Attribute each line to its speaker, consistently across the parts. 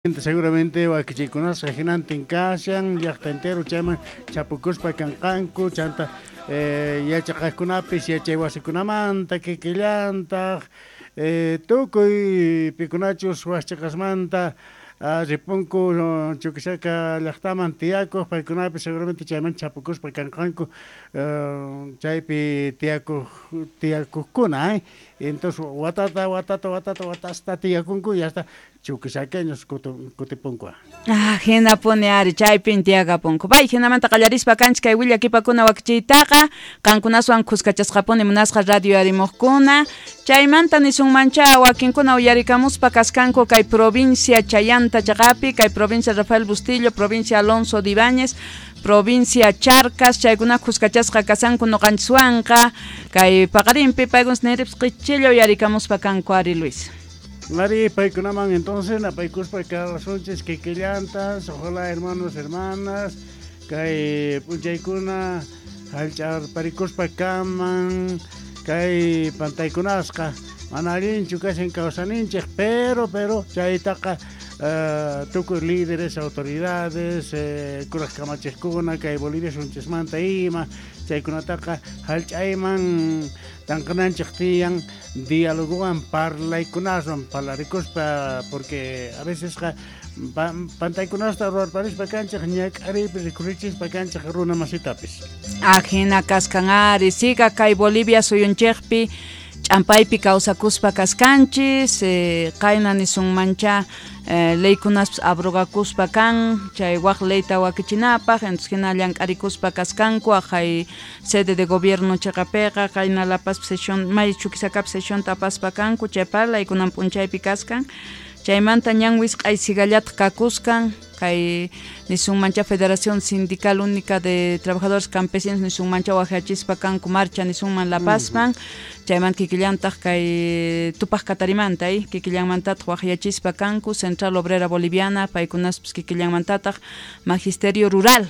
Speaker 1: Seguramente wakichikunasqa hinantin kashan llaqta entero chayman chapukuspa kanqanku chanta yachaqaqkunapis yachay wasikunamanta kikillantaq tukuy pikunachus waqchiqasmanta ripunku Chuquisaca llaqtaman tiyakuq paykunapis seguramente chayman chapukuspa kanqanku chaypi tiyakuq tiyakuqkuna entonces watata watata watata watasta tiyakunku y hasta chuquisaqueños kutipunku.
Speaker 2: Ah, hinapuni ari chaypin tiyakapunku. Bay hinamanta qallarispa kanchik kay willakipakuna wakichiytaqa qankunaswan kuskachasqapuni munasqa radio arimuqkuna chaymanta nisunmancha wakinkuna uyarikamuspa kaskanku kay provincia Chayanta chaqapi kay provincia Rafael Bustillo, provincia Alonso de Ibáñez, provincia Charcas, chaykuna kuskachasqa kasanku nuqanchiswanqa kay paqarinpi paykunas nirips qichilla uyarikamuspa kanku ari Luis.
Speaker 1: Mari paykunaman entonces napaykuspa kasunchis kikillantas, ojalá hermanos, hermanas, kay p'unchaykuna hallch'arparikuspa kaman, kay pantaykunasqa mana allinchu kashan kawsaninchik, pero chaytaqa tukuy líderes, autoridades, kuraq kamachiqkuna kay Bolivia sunchismanta ima chaykunataqa hallch'ayman tanqananchik tiyan dialogowan parlaykunaswan parlarikuspa porque a veces pantaykunasta ruwarparispa kanchik ñak'ariypi rikurichispa kanchik runa masitapis.
Speaker 2: Ajina kaskan ari siga kay Bolivia suyunchikpi ch'ampaypi kawsakuspa kaskanchis qayna nisunmancha leykunaspis abrogakuspa kan chay waq leyta wakichinapaq entonces hina llank'arikuspa kaskanku aqhay sede de gobierno chaqapiqa qayna La Paz sesión may Chuquisacapi sesión tapaspa kanku chay parlaykunan p'unchaypi kaskan chaymanta ñan wisq'ay sigallataq kakuskan kay nisunmancha Federación Sindical Única de Trabajadores Campesinos nisunmancha waqyachispa kanku marcha nisunman La Pazman chaymanta kikillantaq kay Tupaq Katarimanta kikillanmantataq waqyachispa kanku Central Obrera Boliviana paykunaspis kikillanmantataq Magisterio Rural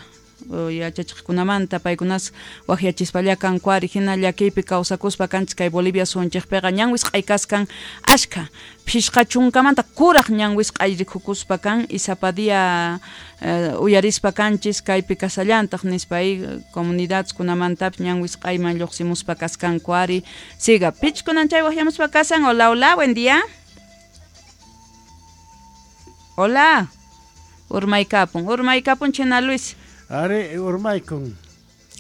Speaker 2: yachachiqkunamanta paykunas waqyachispalla kanku ari hina llakiypi kawsakuspa kanchik kay Bolivia sunchikpiqa ñan wisq'ay kaskan ashka phishqa chunkamanta kuraq ñan wisq'ay rikukuspa kan isapadia uyarispa kanchis kaypi kasallantaq nispa comunidades kunamantapis ñan wisq'ayman lluqsimuspa kaskanku ari siga pichkunan chay waqyamuspa kasan. Hola, hola, buen día. Hola. Urmaykapun china Luis.
Speaker 1: Ari urmaykun.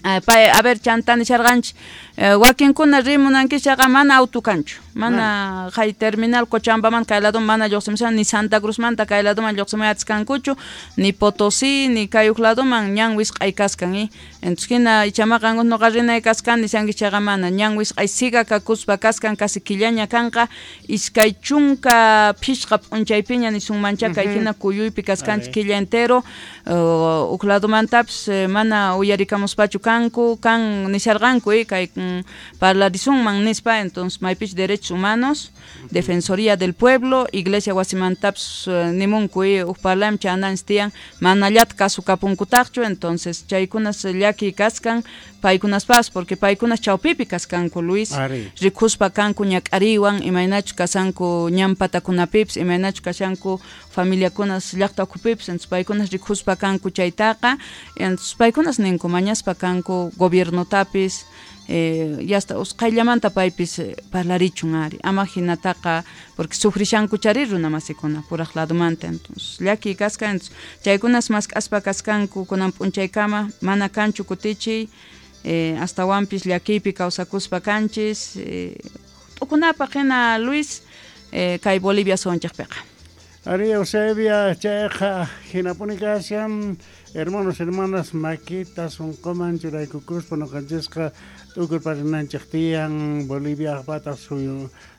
Speaker 2: A ver chantani sharqanchik wakinkuna rimunankichaqa mana auto kanchu mana hay terminal Cochabambaman kay ladoman mana lluqsimushan ni Santa Cruzmanta kay ladoman lluqsimuy atiskankuchu ni Potosí ni kay huk ladoman ñan wisq'ay kaskan entonces hina ichamaqa nuqa rinay kaskan nishankichaqa mana ñan wisq'ay siga kakuspa kaskan casi killaña kanqa 25 p'unchaypiña nisunmancha kay hina kuyuypi kaskanchik killa entero huk ladomantapis mana uyarikamuspachu kanku kan nisharqanku kay parlarisunman nispa entonces maypich derechos humanos defensoría del pueblo iglesia wasimantapis nimunku huk parlaymi chananchis tiyan manallata kasukapunkutaqchu entonces chaykunas llaki kaskan paykunaspas porque paykunas chawpipi kaskanku Luis rikuspa kanku ñak'ariwan imaynachu kasanku ñan patakunapipis imaynachu kashanku familiakunas llaqta ukhupipis entonces paykunas rikuspa kanku chaytaqa entonces paykunas ninku mañaspa kanku gobiernotapis yasta usqhayllamanta paypis parlarichun ari ama hinataqa porque sufrishanku chari runa masikuna puraq ladomanta entonces llaki kaskan entonces chaykunas mask'aspa kaskanku kunan p'unchaykama mana kanchu kutichiy astawanpis llakiypi kawsakuspa kanchis t'ukunapaq hina Luis kay Bolivia sunchikpiqa.
Speaker 1: Ari Eusebia chayqa hinapuni kashan hermanos hermanas makita sunquman churaykukuspa nuqanchisqa t'ukurparinanchik tiyan Boliviapata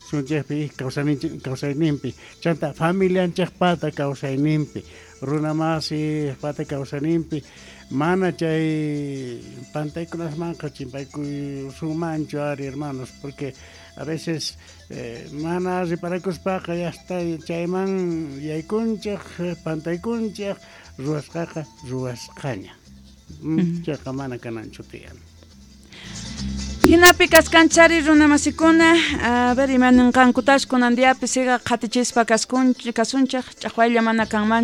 Speaker 1: sunchikpi kawsayninpi chanta familianchikpata kawsayninpi runa masipata kawsayninpi mana chay pantaykunasmanqa chimpaykusunmanchu ari hermanos porque a veces mana riparakuspaqa yasta chayman yaykunchik pantaykunchik ruwasqaqa ruwasqaña chayqa mana kananchu tiyan.
Speaker 2: Hinapi kaskanchari runamasikuna, a ver, imaninqankutash kunan diapi siga qhatichispa kasunchik, ch'aqwaylla mana kanmanchu.